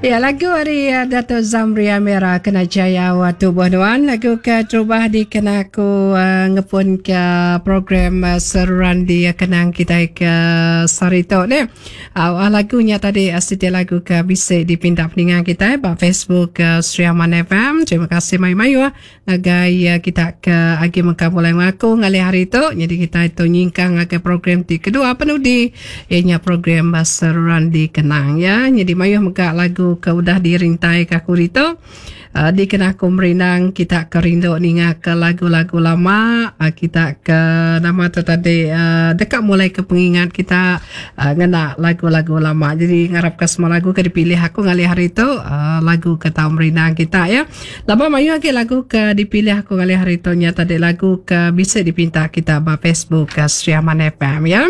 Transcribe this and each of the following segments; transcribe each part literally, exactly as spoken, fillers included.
Ya, lagu ari Dato Zamri Amera kena jayau tubuh nuan. Lagu ke terubah dikena aku uh, ngepun ke program uh, seruran di kenang kita ke sehari tu ni. Uh, lagu nya tadi uh, siti lagu ke bisi dipinta peninga kita ba Facebook uh, Sri Aman F M. Terima kasih mayu-mayu ngagai uh, kita ke agi mengkang mulai ngaku ngalih hari tu. Jadi kita itu nyingkang ngagai program ti kedua penudi ianya program uh, seruran di kenang ya. Jadi mayu mega lagu ke udah dirintai ke aku itu uh, dikena aku merindang kita ke rindu ninga ke lagu-lagu lama uh, kita ke nama tu tadi uh, dekat mulai ke pengingat kita uh, ngena lagu-lagu lama. Jadi ngarap ke semua lagu ke dipilih aku ngalih hari itu uh, lagu ke tau merindang kita ya. Lama mayu lagi lagu ke dipilih aku ngalih hari itu nya tadi lagu ke bisa dipinta kita ba Facebook ke Sri Aman F M ya.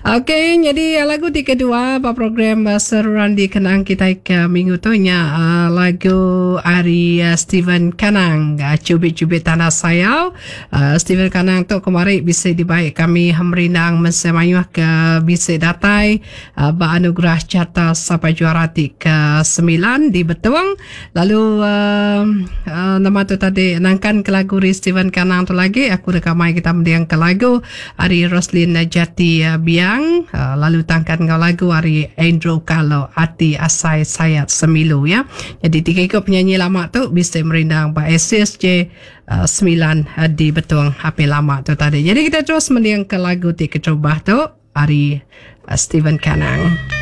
Okey, jadi lagu di kedua ba program uh, seruran dikenang kita ke minggu tu nya uh, lagu ari uh, Steven Kanang uh, Cubit-cubit Tanah Sayau. Uh, Steven Kanang tu kemari bisa dibaik kami merindang mensemayuh ke bisa datai uh, ba anugerah carta sampai juara ti ke sembilan di Betong. Lalu uh, uh, nama tu tadi nangkan ke lagu ri Steven Kanang tu lagi aku dekat mai kita mendiang ke lagu ari Roslin Jati uh, Biang uh, lalu tangkan ngau lagu ari Andrew Kalo Ati Asai Sayat Semilu ya. Jadi tiga ikut penyanyi lama tu bisa merindang ba S S J uh, sembilan uh, di Betong H P lama tu tadi. Jadi kita terus mendiang ke lagu ti keterubah tu ari uh, Steven Kanang.